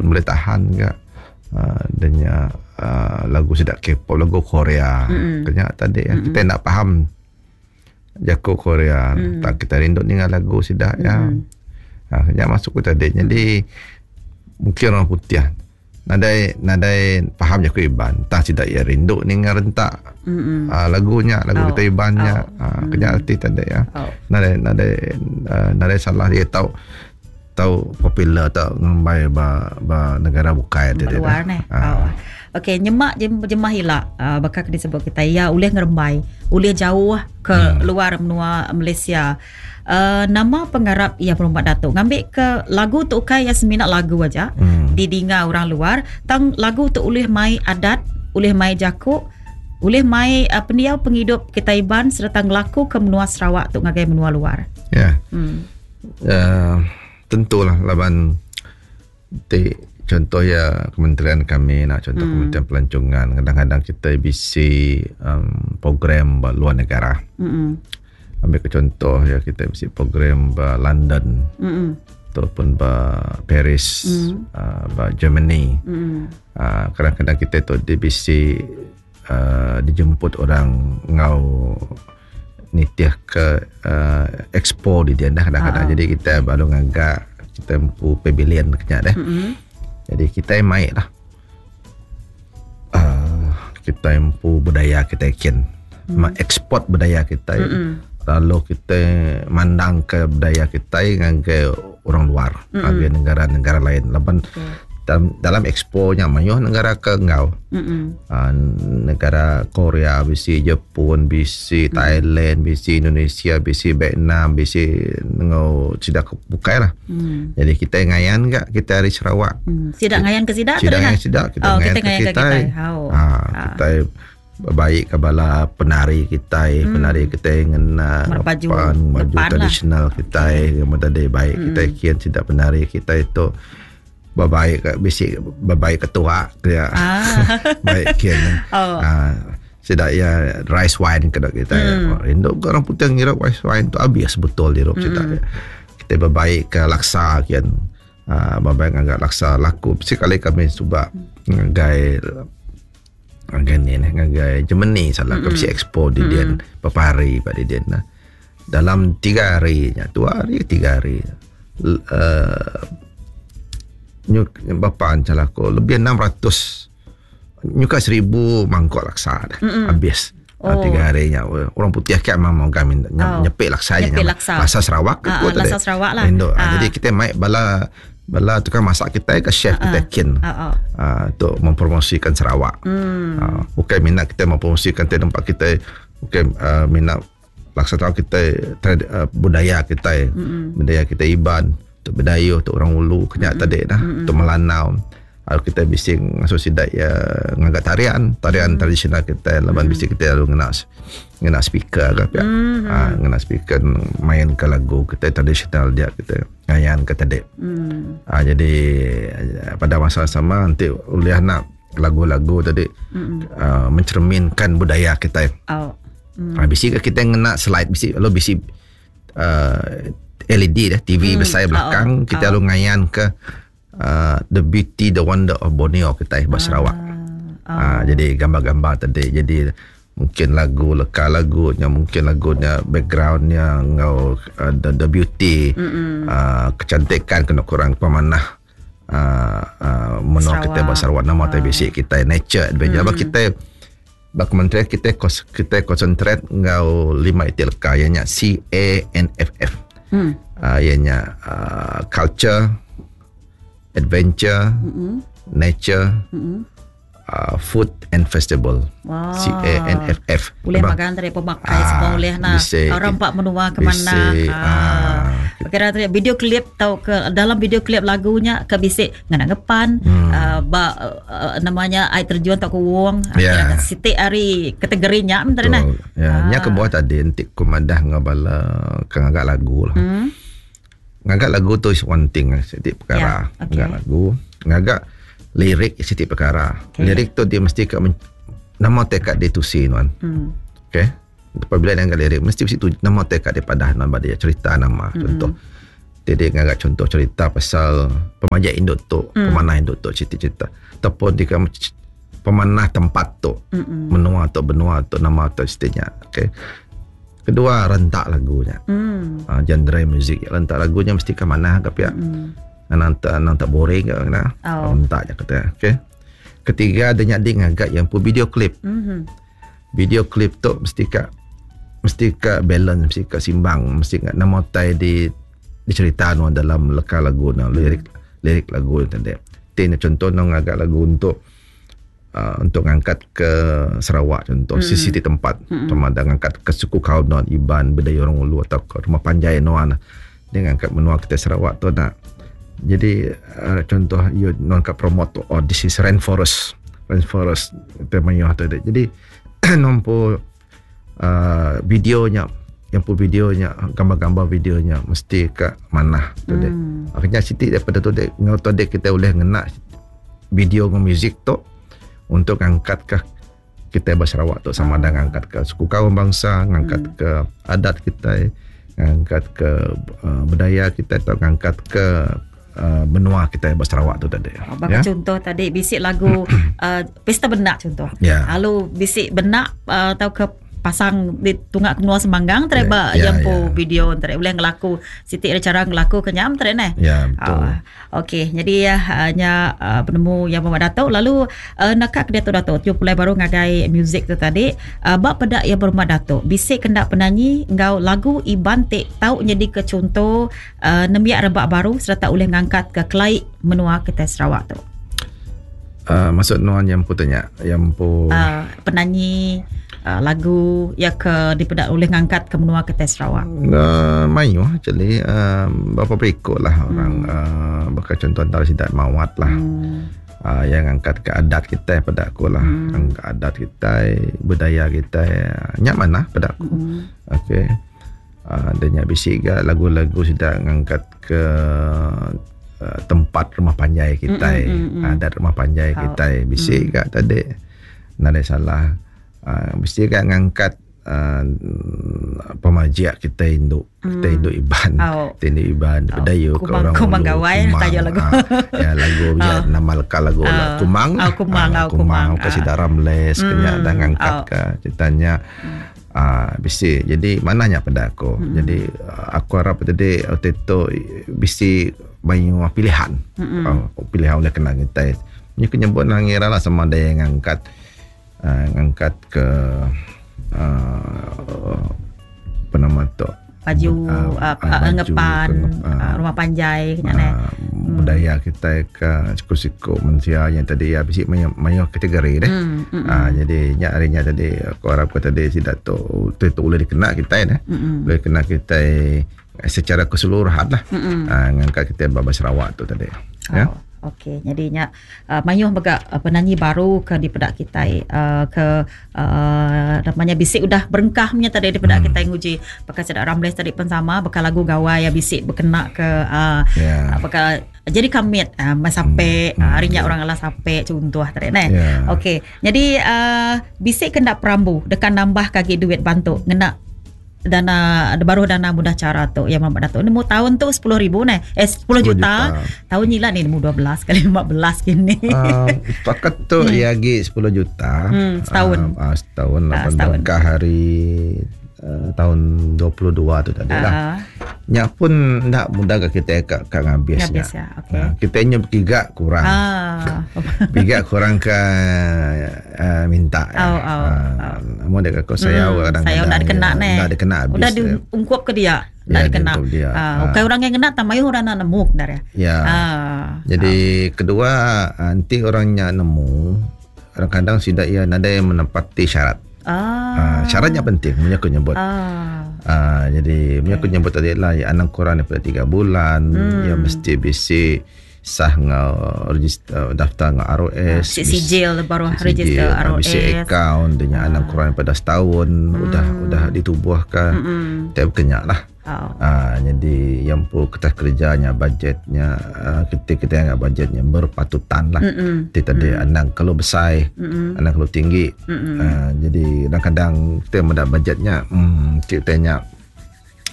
pun boleh tahan ga uh, denya uh, lagu sida K-pop lagu Korea mm-hmm. kenya tadi mm-hmm. kita enda faham jaku Korea mm. tak kita rindu ninga lagu sida ya mm. ha, nya masuk ku tadi jadi mungkin orang putih nadai nadai faham jaku Iban tang sida iya rindu ninga rentak mm uh, lagu nya lagu oh. kita Iban nya oh. uh, kenya erti tadi ya oh. nadai nadai uh, nadai salah dia tau tau popular tau ngembai ba ba negara bukai tadi luar neh uh. oh. Okey nyema jemah ila uh, baka ke disebut kita iya ulih ngerembai ulih jauh ke hmm. luar menua Malaysia uh, nama pengarap iya Perumbat Datuk ngambi ke lagu tu ukai iya semina lagu aja hmm. didinga orang luar tang lagu tu ulih mai adat ulih mai jaku ulih mai uh, pendiau pengidup kita Iban sereta ngelaku ke menua Sarawak tu ngagai menua luar. Ya. Yeah. Hmm. Uh, tentulah laban ti contoh ya kementerian kami nak contoh hmm. kementerian pelancongan kadang-kadang kita bisi um, program ba luar negara. Hmm. Ambil ke contoh ya kita bisi program ba London. Hmm. Ataupun ba Paris, hmm. uh, ba Germany. Hmm. Uh, kadang-kadang kita tu di bisi uh, dijemput orang ngau nitih ke uh, expo di dia dah kadang-kadang. Uh-huh. Jadi kita baru ngagak kita empu pavilion kenya deh. Mm-hmm. Jadi kita mai lah. Uh, kita empu budaya kita kin. Mm. Ekspor budaya kita. Mm-hmm. Lalu kita mandang ke budaya kita ngagai orang luar, mm-hmm. ngagai negara-negara lain. Laban okay dalam, dalam expo nya mayuh negara ke enggau. Mm-hmm. Uh, negara Korea bisi, Jepun bisi, mm. Thailand bisi, Indonesia bisi, Vietnam bisi enggau sida ke bukai lah. Mm. Jadi kita ngayan ga kita ari Sarawak. Mm. Sida ngayan ke sida? Sida ngayan sida, kita oh, ngayan kita ke kita. Ke kita. Oh. Ha, kita baik ke bala penari kitai, hmm. penari kitai ngena baju, baju lah. tradisional kitai, okay. tadi baik hmm. kitai kian sida penari kitai tu bebaik ke bisi bebaik ke tuak dia. Ah. baik kian. Oh. Ah, sida iya rice wine ke kita. Hmm. Rindu ke orang putih ngirup rice wine tu habis betul dirup hmm. sida. Kita bebaik ke laksa kian. Ah, bebaik ngagai laksa laku. Sekali kami suba ngagai ngagai ni ngagai Germany salah mm-hmm. ke expo di dian mm-hmm. beberapa hari pada dian nah. Dalam tiga hari nya, dua hari tiga hari. Uh, nyu bapa salah aku lebih 600 nyuka 1000 mangkuk laksa dah. Mm-hmm. Habis. Oh. Tiga hari nya orang putih kan memang kami oh. nyepik laksa nyepik laksa. Laksa Sarawak uh, uh, laksa Sarawak lah. Indo. Uh. Jadi kita mai bala bala tukang masak kita ke chef uh, kita kin uh, uh. Uh, untuk mempromosikan Sarawak. Mm. Uh, bukan minat kita mempromosikan tempat kita bukan uh, minat laksa Sarawak kita trad, uh, budaya kita mm-hmm. budaya kita Iban untuk Bidayuh untuk orang Ulu kenyak mm-hmm. tadi dah mm-hmm. untuk Melanau lalu kita bisi ngasuh sidak ya ngagak tarian tarian mm. tradisional kita laban mm. bisi kita lalu ngena ngena speaker ke pia mm. ha, ngena speaker main ke lagu kita tradisional dia kita ngayan ke tadi mm. ha, jadi pada masa sama nanti ulih nak lagu-lagu tadi mm. uh, mencerminkan budaya kita oh. Mm. Ha, bisi ke kita ngena slide bisi lalu bisi uh, LED dah TV mm. besar belakang oh. kita oh. lalu ngayan ke uh, the beauty the wonder of Borneo kita ba Sarawak. Ah. Uh, jadi gambar-gambar tadi jadi mungkin lagu leka lagunya mungkin lagunya backgroundnya ngau uh, the, the beauty uh, kecantikan kena kurang pemanah uh, uh, menua kita ba Sarawak nama uh. basic kita nature adventure mm. kita ba kementerian kita kita concentrate enggau lima iti leka iya nya C A N F F. Hmm. Uh, iya nya uh, culture, adventure, mm-hmm. nature, mm-hmm. uh, food and festival. Wow. C A N F F. Boleh makan dari pemakai ah, semua boleh nah. Orang pak menua ke mana. Ah. Kira tu video klip tau ke dalam video klip lagunya ke bisi ngena ngepan hmm. uh, ba uh, namanya ai terjun tau ke wong yeah. siti ari kategori nya mentar nah. Ya, ah. nya ke buah tadi enti ku madah ngau bala ke ngaga lagu lah. Hmm. Ngaga lagu tu is one thing lah, siti perkara. Yeah, okay. Ngaga lagu, ngaga lirik siti perkara. Okay. Lirik tu dia mesti ke men- nama tekad dia tusi nuan. Hmm. Okay. Apabila dia ngaga lirik mesti mesti tu nama tekad dia padah nuan ba dia cerita nama. Mm-hmm. Contoh. Jadi ngaga contoh cerita pasal pemajik indu tu, pemanah indu tu cerita-cerita ataupun di pemanah tempat tu, menua tu, benua tu, nama tu siti nya. Okey. Kedua rentak lagu nya. Genre muzik rentak lagu nya mesti ke manah ke pia. Anang tak anang tak boring ke kena. Oh. Rentak nya kata. Okey. Ketiga dia nya di ngaga yang pu video klip. Video klip tu mesti ka mesti ka balance, mesti ka simbang, mesti ka nama utai di dicerita nuan dalam leka lagu no, lirik lirik lagu tadi. Ti contoh no ngaga lagu untuk untuk ngangkat ke Sarawak contoh sisi ti tempat sama ada ngangkat ke suku kaum nuan Iban, Bidayuh orang Ulu atau ke rumah panjai nuan. Dia ngangkat menua kita Sarawak tu nak. Jadi contoh you nuan ka promote tu, oh this is rainforest. Rainforest tema mayuh tu. Jadi nompo videonya yang pun videonya gambar-gambar videonya mesti ke manah tu dek. Akhirnya siti daripada tu dek ngau tu dek kita boleh ngena video dengan muzik tu untuk angkat ke kita ba Sarawak tu sama ada ngangkat ke suku kaum bangsa, ngangkat ke adat kita, ngangkat ke budaya kita atau ngangkat ke benua kita ba Sarawak tu tadi. Oh, bagi ya? Contoh tadi bisik lagu Pesta Benak contoh. Ya. Lalu bisik benak atau ke pasang di tunggak ke menua Semanggang tere ba yang po video tere boleh ngelaku siti ada cara ngelaku ke nyam tere neh. Ya, betul. Okey, jadi ya nya penemu yang Muhammad Datuk lalu naka ke diatu Datuk tiu pulai baru ngagai muzik tu tadi ba peda yang Muhammad Datuk bisik kendak penanyi enggau lagu Iban ti tau nyadi ke contoh nembiak rebak baru sereta ulih ngangkat ke kelai menua kitai Sarawak tu. Maksud nuan yang empu tanya, yang empu penanyi lagu ya ke dipeda ulih ngangkat ke menua kitai Sarawak. Mayuh actually berapa berikut lah orang bakal contoh antara sidak mawat lah. Yang angkat ke adat kita pada aku lah. Angkat adat kita, budaya kita, nyak mana pada aku. Okey. Dan nyak bisi ga lagu-lagu sidak ngangkat ke tempat rumah panjai kita, adat rumah panjai kita bisi ga tadi nadai salah. Bisi ga ngangkat pemajik kita induk, kita induk Iban, kita induk Iban, Bidayuh ke Kumang, orang Kumang Ulu, Gawai, Kumang, tajuk lagu. Ya, lagu ya, nama leka lagu lah. Kumang. Kumang, Kumang, Kumang. ke Sidaram Les, kena dah ngangkat ke ceritanya. Bisi. Jadi mananya pada aku. Jadi aku harap tadi waktu itu bisi banyak pilihan. Pilihan oleh kena kita. Ni kena buat nang ngira lah sama ada yang ngangkat ke apa nama tu? Baju, Baju, ngepan, rumah panjai, kena ni. Budaya kita ke siku-siku manusia yang tadi ya bisi mayo kategori deh. Jadi nyak harinya tadi aku harap kau tadi sidak tu tu, tu boleh dikena kita deh. Boleh kena kita secara keseluruhan lah. Ngangkat kita bab Sarawak tu tadi. Ya. Okey, jadi nya mayuh mega penyanyi baru ke di pedak kita ke namanya bisik udah berengkah punya tadi di pedak kita nguji pakai sedak Ramles tadi pun sama bekal lagu gawai ya bisik berkena ke bekal jadi kamit sampai harinya orang alah sampai contoh tadi neh. Okey, jadi bisik kendak perambu dekan nambah kaki duit bantu ngena dana baru dana mudah cara tu yang Muhammad Datuk nemu tahun tu 10,000 neh. 10 juta. Tahun ni lah ni nemu 12 kali 15 kini. Pakat tu ya lagi 10 juta. Setahun. Setahun, lapan Setahun. berkah hari tahun 22 tu tadi lah. Nyak pun ndak mudah ke kita ke ngabis Ngabis nyak. ya, okey. Kita nyo giga kurang. Giga kurang ke minta. Namun dia kata, saya kadang-kadang Saya ndak dikena ya, neh. ndak dikena habis. Udah diungkup ke dia. Ya, Ndak dikena. diungkup dia. Bukan orang yang kena tamayu orang nak nemu dah ya. Ya. Jadi kedua nanti orangnya nemu kadang-kadang tidak ia nada yang menepati syarat. Syaratnya penting, punya aku nyebut. Jadi punya aku nyebut tadi lah, ya, anak kurang daripada 3 bulan, ya mesti bisi sah ngau register, daftar ngau ROS, Sijil baru sijil, register ROS. bisi account, dia anak kurang daripada setahun, udah ditubuhkan. Tiap kenyak lah. Jadi yang pun kertas kerjanya, budgetnya, kita yang budgetnya berpatutan lah. Kita tadi anak kalau besar, anak kalau tinggi. Jadi kadang-kadang kita mendak budgetnya, kita tanya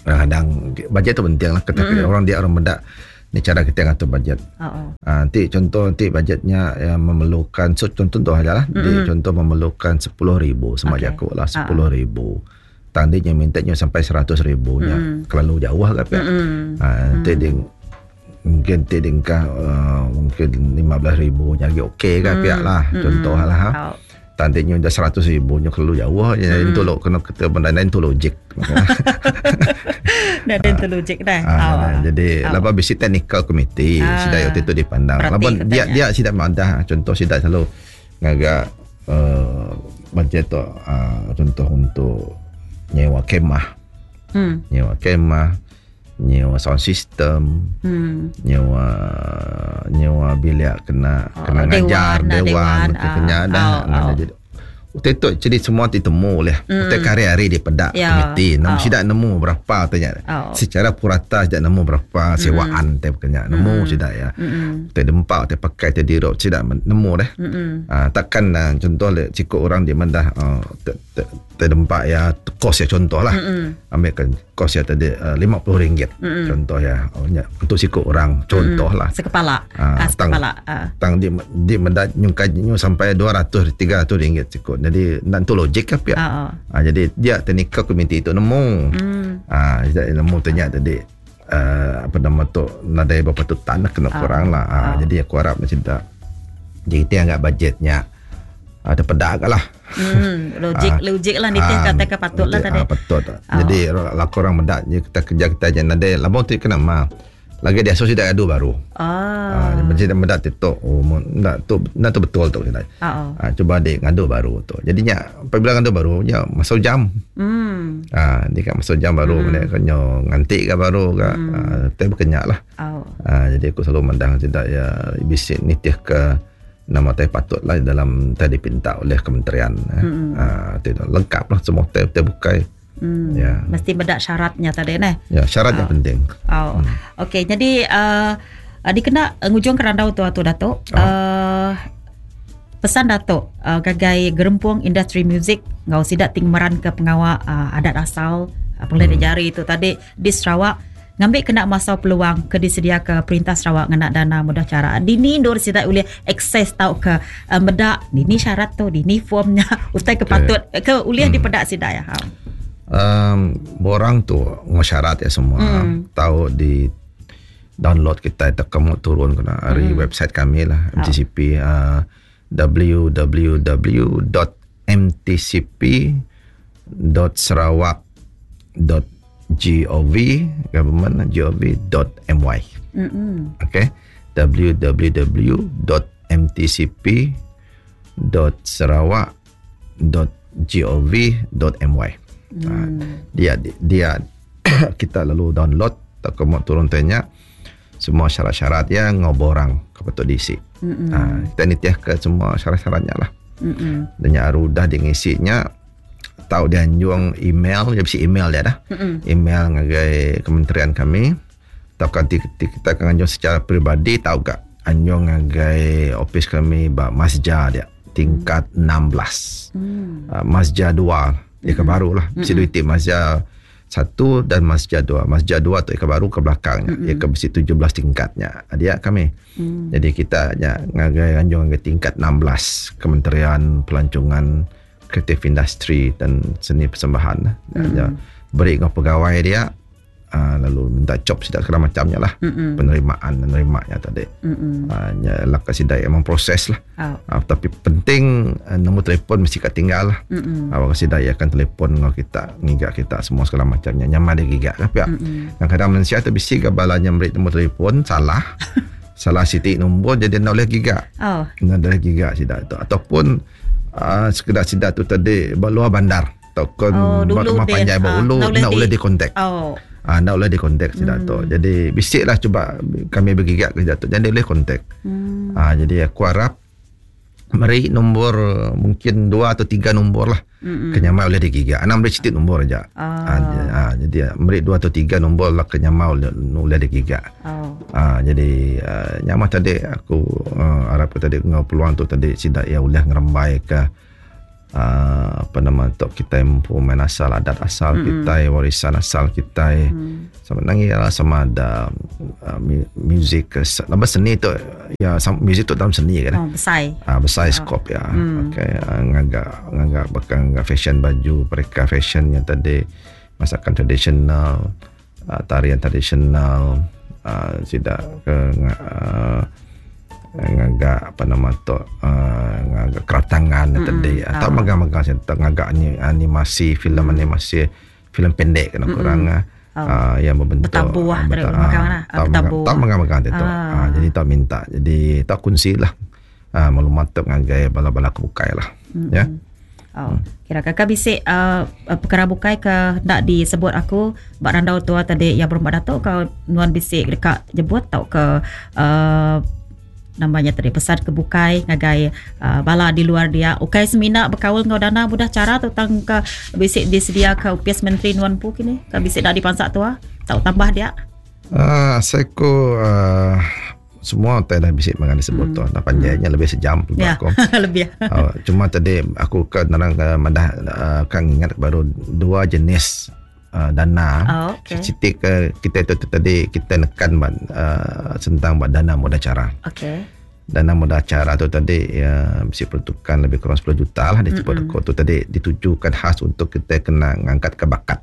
Kadang-kadang bajet tu penting lah kita mm. orang dia orang meda ni cara kita ngatur bajet. Oh. Ha, nanti contoh nanti bajetnya yang memerlukan so contoh tu aja lah. Mm-hmm. contoh memerlukan 10,000 sama okay. jaku lah 10,000. Oh. Tang dia minta nya sampai 100,000 nya. Mm. Terlalu jauh lah kan. Mm. Ha, nanti mm. dia mungkin ti dingkah uh, mungkin 15,000 nya lagi okey kan mm. pihak lah contoh lah ha. Oh. Tang dia nya 100,000 nya terlalu jauh nya mm. itu lo kena kita benda lain tu logik. Dah ada tu logik dah. Ha, oh. Jadi oh. laba bisi technical committee ah. sida itu dipandang. Laba dia dia sida madah contoh sida selalu ngaga uh, budget tu uh, contoh untuk nyewa kemah. Hmm. Nyewa kemah, nyewa sound system, hmm. nyewa nyewa bilik kena oh, kena ngajar dewan, dewan, dewan kena dah. Oh, oh. Jadi Utai tu jadi semua ti temu oleh. Mm. Utai hari-hari di pedak yeah. komiti. Nemu oh. sidak nemu berapa tanya. Oh. Secara purata sidak nemu berapa sewaan mm. te kena nemu mm. sidak ya. Mm. Utai dempak utai pakai utai dirop sidak nemu deh. Mm. Uh, takkan uh, contoh le cukup orang di mendah uh, te, te, te dempak ya kos ya contoh lah. Mm. Ambil kan kos ya tadi uh, RM50 mm. contoh ya. Oh, ya untuk sikut orang contoh mm. lah. Sekepala. Uh, tang, sekepala. Tang di di mendah nyungkai nyu sampai 200 300 ringgit sikut. Jadi nak tu logik ke pihak. Uh, uh. jadi dia technical committee itu nemu. Mm. Ah uh, nemu tanya tadi uh, apa nama tu nadai berapa tu tanah kena kurang lah. Uh, Jadi aku harap macam tak. Jadi kita anggap bajetnya ada pedak lah. Logik uh, logik lah nitih kata ke patut lah tadi. Patut. Oh. Jadi lah korang mendak je kita kerja kita je nadai labong tu kena ma. Lagi dia so tidak adu baru. Ah. Uh, macam mendak tu oh nak tu nak tu betul tu kita. Oh. Uh, cuba dia ngadu baru tu. Jadinya apabila ngadu baru ya masuk jam. Hmm. Ah dia kan masuk jam baru hmm. Kan ngantik ke baru ke. Hmm. Uh, tapi berkenyak lah. Oh. Uh, jadi aku selalu mendang tidak ya bisik nitih ke nama teh patut lah dalam teh dipinta oleh kementerian. Hmm. Uh, lengkap lah semua teh teh bukai. Hmm. Ya. Mesti bedak syaratnya tadi neh. Ya, syaratnya oh. penting. Oh. Hmm. Okey, jadi uh, dikena ngujung kerandau tu atu Datuk. Oh. Pesan Datuk uh, gagai gerempung industri muzik ngau sidak ting meran ke pengawal uh, adat asal uh, pengelai jari itu tadi di Sarawak ngambil kena masa peluang ke disedia ke perintah Sarawak ngena dana mudah cara. Dini ndur sidak boleh akses tau ke uh, medak dini syarat tu dini formnya utai ke patut ke uliah hmm. dipedak sidak ya. Borang tu syarat ya semua tahu di download kita atau kamu turun kena dari website kami lah MTCP uh, www.mtcp.sarawak.gov government gov.my. Okay, www.mtcp.sarawak.gov.my. Dia dia kita lalu download tak kamu turun tanya semua syarat-syarat yang ngoborang kepada diisi. Ha, kita nitih ke semua syarat-syaratnya lah. Dan yang dah dia ngisinya tahu dia anjung email, dia bisi email dia dah. Email ngagai kementerian kami. Tahu kan kita akan anjung secara peribadi tahu gak anjung ngagai office kami ba Masja dia tingkat 16. Masja 2 dia ke baru lah. Bisi duit Masja 1 dan Masjid 2. Masjid 2 tu ke baru ke belakangnya. Dia ke besi 17 tingkatnya. Dia kami. Jadi kita nya ngagai anjung ke tingkat 16 Kementerian Pelancongan, Kreatif Industri dan Seni Persembahan. Ya, beri dengan pegawai dia lalu minta cop sidak segala macamnya lah. Penerimaan menerimanya tadi. Nya lah kasih dai emang proses lah. Oh. Tapi penting nombor telefon mesti kat tinggal lah. Awak kasih dai akan telefon dengan kita, ngigak kita semua segala macamnya. Nyaman dia gigak lah pihak. Kadang-kadang manusia tu bisi gabalanya beri nombor telefon salah. Salah sitik nombor jadi nak boleh gigak. Oh. Nak boleh gigak sidak tu ataupun sekedar sidak tu tadi luar bandar ataupun oh, rumah panjai ulu nak boleh di kontak. Oh. Nak boleh di kontak sidak tu. Jadi bisiklah cuba kami bergigak ke sidak tu. Jadi boleh kontak. Jadi aku harap meri nombor mungkin 2 atau 3 nombor lah. Kenyamai boleh digigak. Anam boleh cetit nombor aja. Jadi meri 2 atau 3 nombor lah kenyamai boleh digigak. Jadi nyamah tadi aku harap tadi ngau peluang tu tadi sidak ya boleh ngerembai ke Uh, apa nama tu kita empu main asal adat asal mm-hmm. kita warisan asal kita mm. sama nangi lah sama ada uh, music nama seni tu ya music tu dalam seni kan oh, besar ah uh, besar oh. skop ya mm. okey uh, ngagak ngagak bahkan ngagak fashion baju mereka fashion yang tadi masakan tradisional uh, tarian tradisional uh, sida ke uh, ngagak apa nama tu uh, ngagak keratangan mm-hmm. tadi atau oh. magang-magang saya ngagak animasi filem mm. animasi filem pendek kena mm-hmm. kurang oh. uh, yang berbentuk bertabuh uh, bertabuh tak magang-magang tu ah. uh, jadi tak minta jadi tak kunci lah uh, maklumat tu ngagai bala-bala kebukai lah mm-hmm. ya. Oh, kira kakak bisik uh, perkara bukai ke nak disebut aku bak randau tua tadi yang berumah datuk kau nuan bisik dekat jebut tau ke uh, namanya tadi pesan ke bukai ngagai uh, bala di luar dia ukai semina berkaul ngau dana mudah cara tu tang ke bisik disedia ke UPS Menteri nuan pu kini ke bisik dak dipansak tua tau tambah dia. Ah uh, saya ko uh, semua tak dah bisik mengenai sebut tu. Dah panjangnya lebih sejam ya, aku. lebih. Uh, cuma tadi aku ke narang uh, madah uh, kan ingat baru dua jenis uh, dana. Oh, okay. Siti ke kita itu tadi kita nekan uh, tentang dana mudah cara. Okey. Dana mudah cara tu tadi ya mesti peruntukan lebih kurang 10 juta lah disebut mm-hmm. tu tadi ditujukan khas untuk kita kena ngangkat ke bakat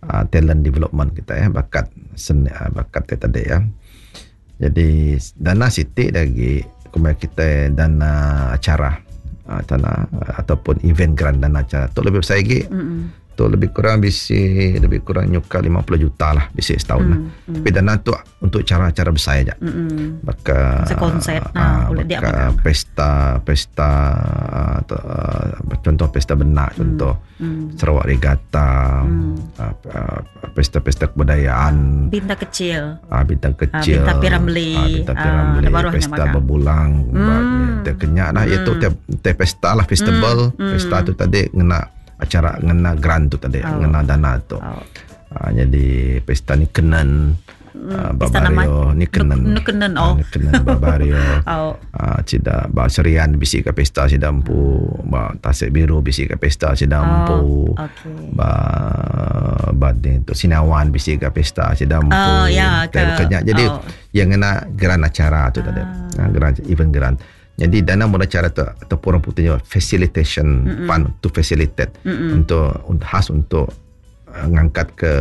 uh, talent development kita ya, bakat seni uh, bakat tadi ya. Jadi dana sitik lagi kemudian kita dana acara uh, dana ataupun event grant dana acara tu lebih besar lagi. Mm-hmm. Tu lebih kurang bisi lebih kurang nyuka 50 juta lah bisi setahun lah. Tapi dana tu untuk cara-cara besar aja. Mm-hmm. Baka konsert nah, boleh dia pesta pesta atau uh, contoh pesta benak contoh mm. Sarawak Regatta mm. uh, pesta-pesta kebudayaan bintang kecil bintang kecil bintang Piramli bintang Piramli pesta berbulang mm. Kenyak lah iaitu tiap pesta lah festival pesta tu tadi ngena acara ngena grant tu tadi oh. ngena dana tu oh. Ha, jadi pesta ni kenan uh, Babario ni kenan kenan oh ni kenan Babario oh. Uh, sida ba Serian bisi ke pesta sida empu ba Tasik Biru bisi ke pesta sida empu oh, okay. Ba ba ni tu Sinawan bisi ke pesta sida empu oh, ya, ke, jadi oh. yang ngena grant acara tu tadi ha, grant event grant. Jadi dana mudah cara tu atau orang putihnya facilitation mm-mm. fund to facilitate mm-mm. untuk khas untuk uh, ngangkat ke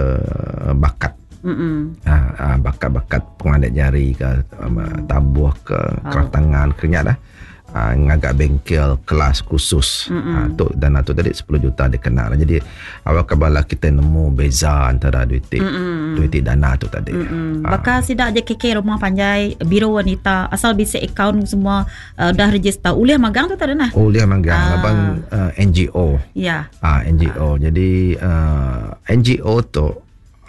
bakat uh, bakat-bakat pengadek jari ke tabuh ke oh. Tangan kenyak dah uh, ngagak bengkel kelas khusus uh, tu dana tu tadi 10 juta dikenal. Jadi awal kebala kita nemu beza antara duit duit dana tu tadi. Bakal sidak JKK rumah panjai biro wanita asal bisa account semua uh, dah register ulih magang tu tak ada nah. Ulih magang laban uh, NGO. Ya. Ah NGO. Jadi uh, NGO tu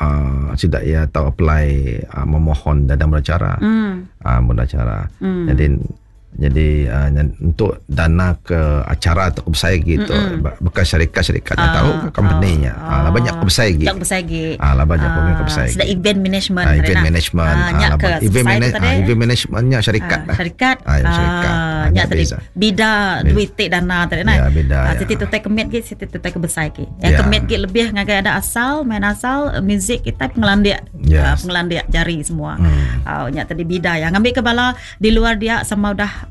uh, sidak ia tahu apply uh, memohon dana mudah cara. Uh, mudah cara. Jadi Jadi uh, untuk dana ke acara atau kebesar gitu bukan syarikat-syarikat uh, tahu ke company-nya. Uh, lah banyak kebesar gitu. Banyak kebesar gitu. Ah lah banyak uh, kebesar gitu. Sudah event management. Uh, event management. Uh, uh, event management event managementnya syarikat lah. Syarikat. Ah uh, syarikat. Nya tadi bida duit dana tadi nah. Ya beda. Uh, siti tu tai kemit gitu, siti tu tai kebesar gitu. Yang kemit gitu lebih ngagai ada asal, main asal muzik kita pengelandik. Yes. Uh, pengelandik jari semua. Uh, nya tadi bida yang ngambil ke bala di luar dia sama udah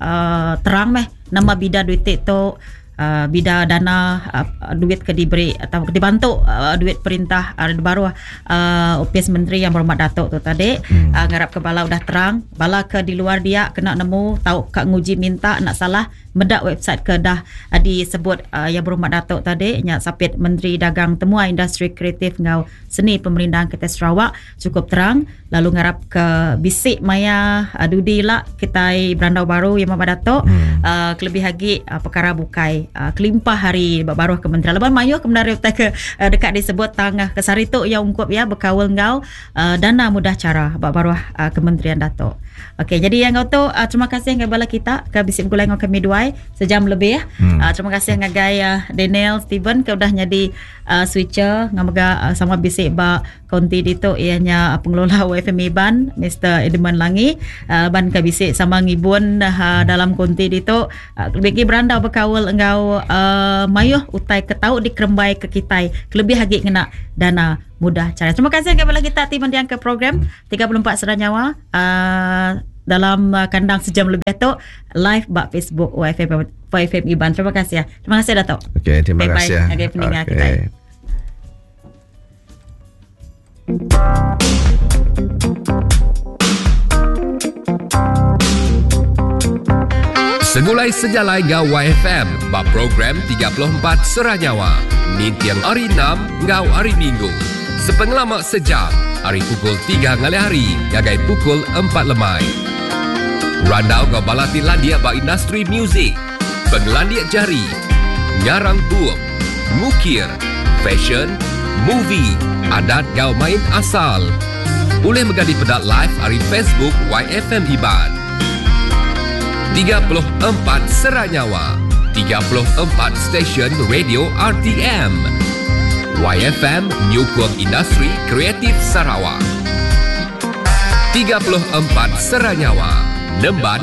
terang meh nama bida duit tu uh, bida dana uh, duit ke diberi atau dibantu uh, duit perintah uh, baru uh, OPS Menteri yang berhormat Datuk tu tadi uh, ngarap ke bala udah terang bala ke di luar dia kena nemu tahu kak nguji minta nak salah medak website ke dah uh, disebut uh, yang berhormat Datuk tadi nya sapit Menteri Dagang Temuai Industri Kreatif ngau Seni Pemerintahan kita Sarawak cukup terang lalu ngarap ke bisik maya uh, dudi lah kita berandau baru yang berhormat Datuk uh, kelebih lagi uh, perkara bukai uh, kelimpah hari baruh kementerian leban mayu kementerian utai ke uh, dekat disebut tangah kesari tu yang ungkup ya berkawal ngau uh, dana mudah cara baruh uh, kementerian Datuk. Okey, jadi yang tu uh, terima kasih ngagai bala kita ke bisi begulai enggau kami duai sejam lebih. Hmm. Uh, terima kasih ngagai uh, Daniel Steven ke udah nyadi uh, switcher ngau mega uh, sama bisi ba konti ditu iya nya pengelola YFM Iban Mr Edmund Langi uh, ban ke bisi sama ngibun uh, dalam konti ditu uh, lebih agi berandau bekaul enggau uh, mayuh utai ke tau dikerembai ke kitai kelebih agi ngena dana mudah cara. Terima kasih kepada kita ti mendiang ke program 34 Sera Nyawa uh, dalam uh, kandang sejam lebih tu live ba Facebook YFM YFM Iban. Terima kasih ya. Terima kasih Datuk. Okey, terima bye kasih. Bye bye pendengar okay. kita. Segulai sejalai enggau YFM ba program 34 Sera Nyawa ninting hari 6 enggau hari Minggu. Sepengelama sejam ari pukul 3 ngalih hari ngagai pukul 4 lemai. Randau enggau bala ti landik ba industri muzik, pengelandik jari, ngarang bup, ngukir, fashion, movie, adat enggau main asal. Ulih mega dipeda live ari Facebook YFM Iban. 34 Sera Nyawa, 34 stesen radio RTM. YFM nyukung industri kreatif Sarawak. 34 Sera Nyawa, nemban.